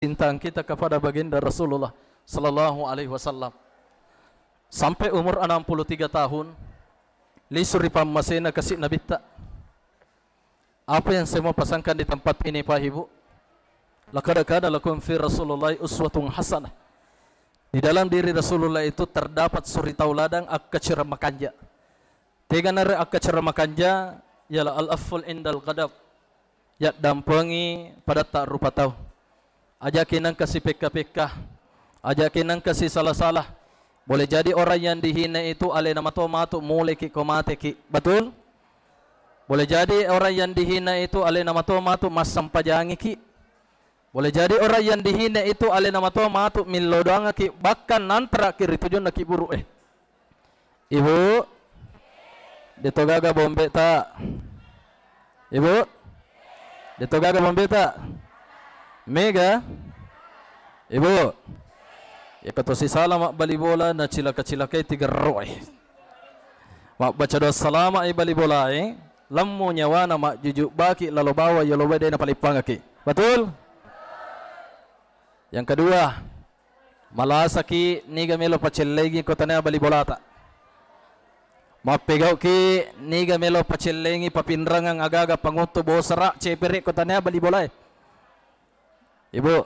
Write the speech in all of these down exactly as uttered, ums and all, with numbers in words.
kecintaan kita kepada baginda Rasulullah sallallahu alaihi wasallam. Sampai umur enam puluh tiga tahun, lisu ri pammasena kasi Nabitta. Apa yang saya mau pasangkan di tempat ini, Pak Ibu? Laqad kana lakum fi Rasulillah uswatun hasanah. Di dalam diri Rasulullah itu terdapat suri tauladan akkacera makanja. Teganare akkacera makanja ialah al-afwul indal ghadab. Yaddampengi padatta rupa tau. Ajaki nengka sipekka-pekka. Ajaki nengka sisala-sala. Boleh jadi orang yang dihina itu alena mato matu muleki ko mateki. Betul? Boleh jadi orang yang dihina itu alena mato matu massempajangiki. Boleh jadi orang yang dihina itu alena mato matu millo doangaki, bahkan nantaraki ri tujunna kiburu e. Ibu, deto gaga bombeta? Ibu, deto gaga bombeta? Mega? Ibu, iya ko to sisala mabbali bola na cilaka-cilakai tigerro e. Mabbaca doa salama i bali bola e, lemmu nyawana majjuju baki lalo bawang yolo bae de napalippangaki. Betul? Yang kedua, malasaki niga melo pacellengi ko tania bali bolata. Mappegauki niga melo pacellengi papinrangeng agaga panguttu bosara cepere ko tania bali bolae. Ibu,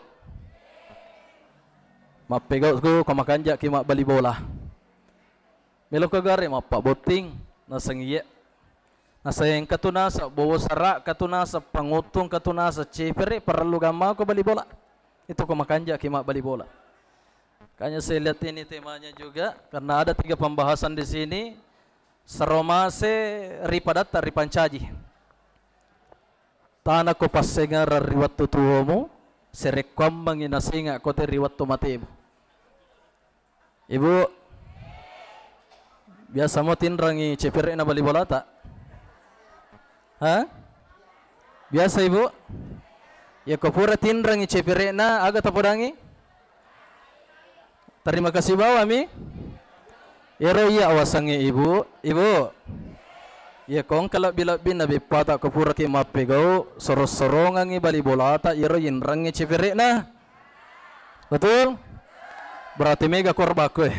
mappegauku ko makanjaki mabbali bola. Melo ko gare mappabotting naseng iye. Naseng engka tu naseng bosara, engka tu naseng panguttung, engka tu naseng cepere, parellu gammako bali bola. Itu ko makanjaki mabbali bola. Makanya saya lihat ini temanya juga, karena ada tiga pembahasan di sini. Saromase ri padatta ripancaji. Tana ko passengerang ri wettu tuomu, serekkuammengi nasenga ko te ri wettu matemu. Ibu, biasa mo tinrangi cepere'na bali bolata? Ha? Biasa, Ibu? Iya ko pura tinrangi cepere'na, aga tapodangi? Terima kasih bawami. Ero iya awasangnge Ibu, Ibu. Iya ko engka lebbi-lebbinna beppata ko puraki mappegau, sorong-sorongangngi bali bolata, iyaro yinrangngi cepere'na. Betul? Berarti mega korbakku e.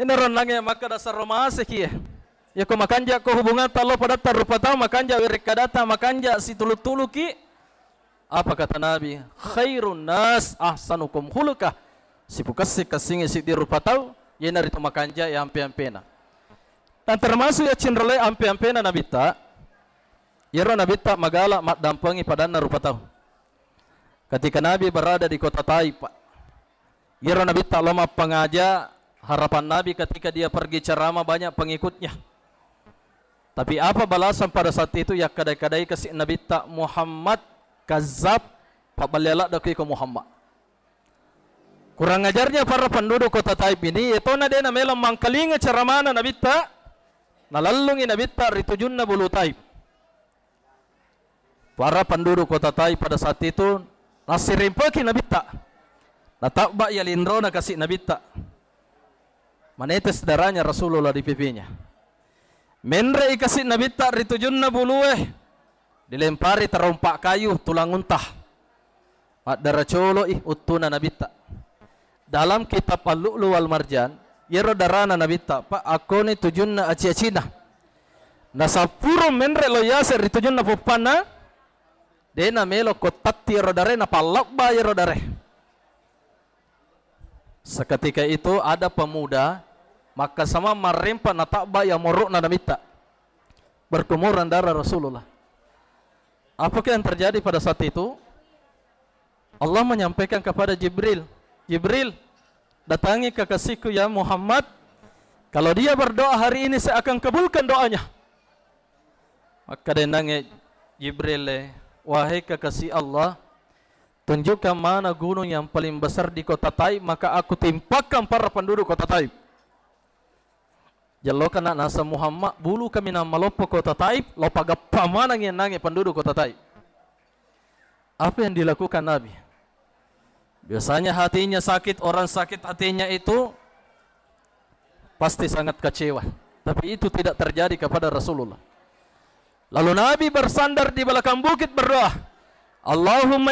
Iyana ronnangnge makkeda sarro maseki e. Iya ko makanja'ko hubungatta lo padatta rupa tau, makanja werekkadatta, makanja situlu-tuluki. Apa kata Nabi? "Khairun nas ahsanukum khuluqa." Sipukassi-kassingngi siddi rupa tau, iyanaritu makanja e ampe-ampena. Dan termasuk iya cinrolai ampe-ampena Nabitta, iyaro Nabitta magala maddampengi padanna rupa tau. Ketika Nabi berada di kota Taif, Pak, iyaro Nabitta lao mappangaja, harapan Nabi ketika dia pergi ceramah banyak pengikutnya. Tapi apa balasan pada saat itu? Yakkada-kadai kasi Nabitta, "Muhammad kazzab, pabballe ladde ko iko Muhammad." Kurang ajarnya para penduduk kota Taif ini, yetona de namelo mangkalinga ceramana Nabitta, nalellungi Nabitta ri tujunna bulu Taif. Para penduduk kota Taif pada saat itu nassirimpeki Nabitta. Natabba iya linrona kasi Nabitta. Menetes darahnya Rasulullah di pipinya. Menre'i kasi Nabitta ri tujunna bulue. Dilempari tarompa kayu tulang unta. Maddara colo'i uttuna Nabitta. Dalam kitab Al-Lu'lu wal Marjan, iyaro darana Nabitta, Pak, akkoni tujunna aci-acina. Nasappuro menre lo yase ri tujunna poppanna, de namelo ko tatti iyaro dare, napallabba iyaro dare. Seketika itu ada pemuda makkasamang marrempa natabba iya moro'na Nabitta. Berkumuran darah Rasulullah. Apakah yang terjadi pada saat itu? Allah menyampaikan kepada Jibril, "Jibril, datangi kekasihku ya Muhammad. Kalau dia berdoa hari ini, saya akan kabulkan doanya." Maka denangnge Jibril, "Wahai kekasih Allah, tunjukkan mana gunung yang paling besar di kota Taif, maka aku timpakan para penduduk kota Taif." Jallokana naseng Muhammad, bulu kaminang maloppo kota Taif, lo pagappa maneng iyennangnge penduduk kota Taif. Apa yang dilakukan Nabi? Biasanya hatinya sakit, orang sakit hatinya itu pasti sangat kecewa. Tapi itu tidak terjadi kepada Rasulullah. Lalu Nabi bersandar di belakang bukit berdoa, Allahumma